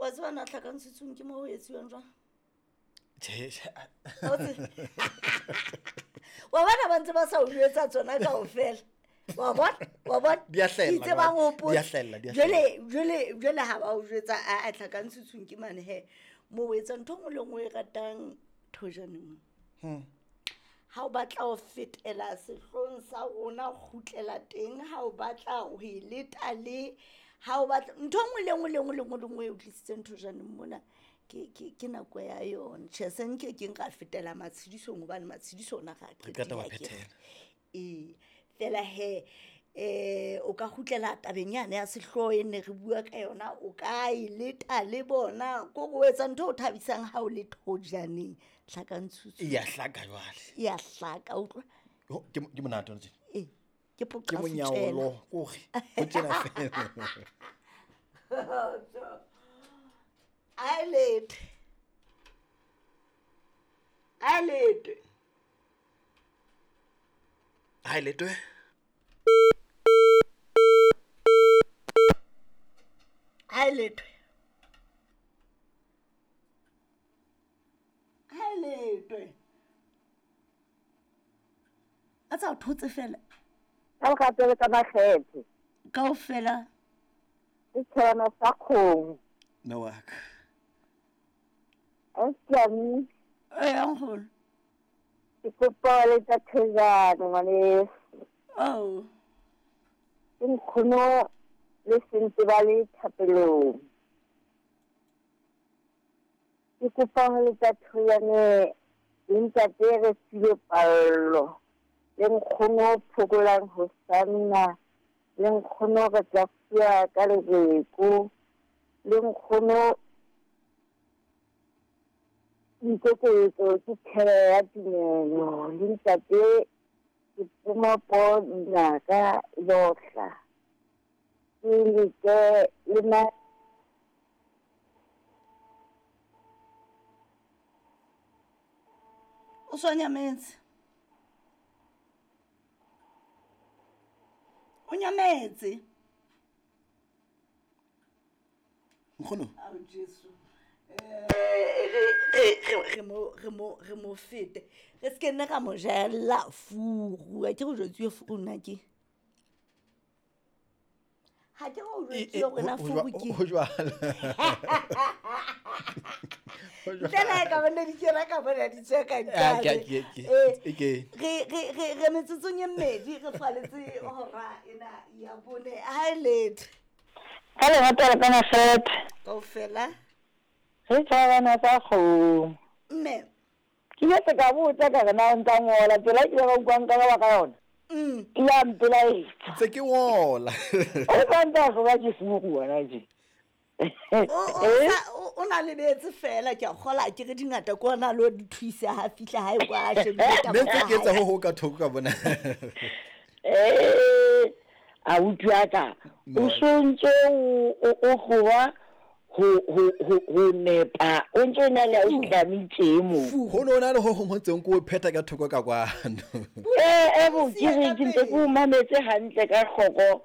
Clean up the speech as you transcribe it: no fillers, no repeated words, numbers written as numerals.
Wa tseba na tlhakantshitsweng ke mo ho etsuwang jwang? Tjhe, Ha o tsebe? Wa bona ba ntse ba sa o jwetsa tsona kaofela. Wa bona? Wa bona? Di a hlahella Ke itse ba jwale. ngopotse. Di a hlahella, di a Jwale, hlahella. jwale, jwale ha ba o jwetsa, a, a tlhakantshitsweng ke mane he. Mo o etsa ntho e nngwe le nngwe e ratang thojaneng. Ha o batla ho fetela sehloohong sa rona, kgutlela teng. Ha o batla ho e leta le, ha o batla ntho e nngwe le nngwe le nngwe le nngwe le nngwe e o tlisitseng thojaneng mona, ke nako ya yona. Tjhe, se nke keng ra fetela matshedisong hobane matshediso ona ra Re qeta wa qetile akere. phethela. Ee, fela he, o ka kgutlela tabeng yane ya sehlooho e ne re bua ka yona, o ka e leta le bona. Ko re o etsa ntho e o thabisang ha o le thojaneng, tlhakantshutsu. E ya hlaka jwale. E ya hlaka, utlwa. Ho, ke monate ona tjena. Ee, ke poqa Ke monyaolo, setjela. kore, ho tjena fela. A lete. A lete. Ha e letwe. Ha e letwe. Ha e letwe. A tsa o thotse fela. Ka lerato le ka makgethe. Kaofela. Ke tshwana sa kgomo. Mme wa ka. Ausi. Ee, nkgono. Ke kopa ho letsa thejane ngwaneso. Oh. Ke nkgono le sentse ba le thapelong. Ke kopa ho letsa thejane le ntate re filwe pallo. Le nkgono phokolang ho sanna. Le nkgono re tla fuwa ka lereko. Le nkgono boikokobetso ke thebe ya tumelo. Le ntate ke poma po dinaka lohla. Ke leke le ma O so nyametse. O nyametse. Nkgono. Ao Jesu. Re mo fete. Re se ke nne ra mo jella furu. Ha ke re o jwetsuwe furu nna ke. Ha ke re o jwetsuwe hore na furu ke. Ho jwalo. Ho jwalo. Ntle le ha e ka ba ne di kena ka bona di tswe ka Ah, ntlane. ke. Re metsotsong e mmedi re faletse hora ena ya bone. Ha e letho. Ka lerato le ka makgethe. Kaofela. Re tshwarana sa kgomo. Mme. Ke ile ka botsa ka re na o ntsa ngola, tsela e ke ba utlwang ka ba ka yona. Ke ya mpelaetsa. Ntse ke ngola. O sa ntse a hloka ke furu wena tje. O na lebetse fela, ke a kgola, ke re dingata ke ona lo di thuisa ha fihla hae kwa a shebile taba Mme ntse ya ke etsa hae. ho ho ka thoko ka bona. Abuti wa ka, o No. so ntse o tloha ho nepa, o ntse o na le a o tlamitse mo. Fu. Ho no na le ho hong ho ntseng ko phetha ka thoko ka kwano. Bo, ke re ke ntse ke o mametse hantle ka hloko.